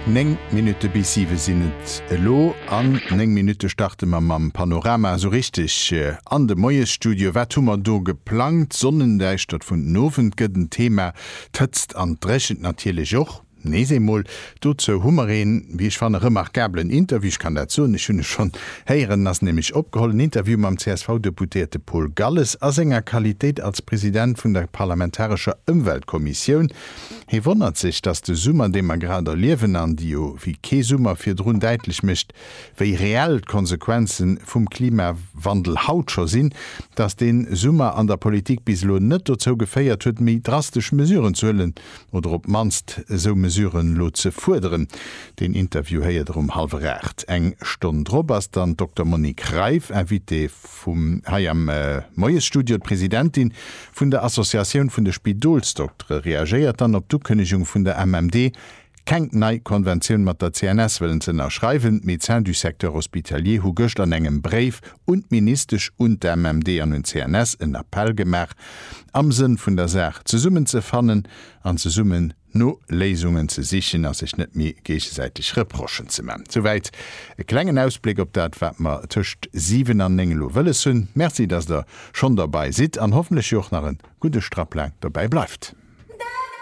9 Minutte bis 7 sinn et elo. An 9 Minutte starte mer mam Panorama esou richteg an de Moiesstudio. Wat hu mer do geplangt? D'Sonnendäischtert vun den Owend gëtt en Thema, d'Hëtzt an d'Dréchent natierlech och. Nees eemol, dozou hu mer een, wéi ech fannen, remarkabelen Interview, ech kann dat soen, ech hunn e schonn héieren, en ass nämlech opgeholl, en Interview mam CSV-Deputéierte Paul Galles a senger Qualitéit als President vun der parlamentarescher Ëmweltkommissioun. Hie wonnert sech, datt de Summer, dee mer grad erliewen an déi jo wéi kee Summer virdrun däitlech mécht, wéi reell d'Konsequenze vum Klimawandel haut scho sinn, datt dee Summer an der Politik bis elo net dozou geféiert huet, méi drastesch Mesuren ze huelen oder op d'mannst esou Mesuren elo ze fuerderen. Deen Interview héiert der um hallwer 8. Eng Stonn drop ass dann d'Dokter Monique Reiff Invitée vum hei am Moiesstudio. D'Presidentin vun der Associatioun vun de Spidolsdoktere reagéiert dann op d'Ukënnegung vun der MMD, keng nei Konventioun mat der CNS wëllen ze ënnerschreiwen. D'Médecins du secteur hospitalier hu gëscht an engem Bréif un d'Ministesch, un d'MMD an un d'CNS en Appell gemaach, am Sënn vun der Saach zesummenzefannen an zesummen no Léisungen ze sichen a sech net méi géigesäiteg Reprochen ze man. Souwäit e klengen Ausbléck op dat, wat mer tëscht 7 an 9 elo wëlles hunn. Merci, dass Der schonn derbei sidd an hoffentlech jo och nach e gudde Strapp laang dobäi bleift.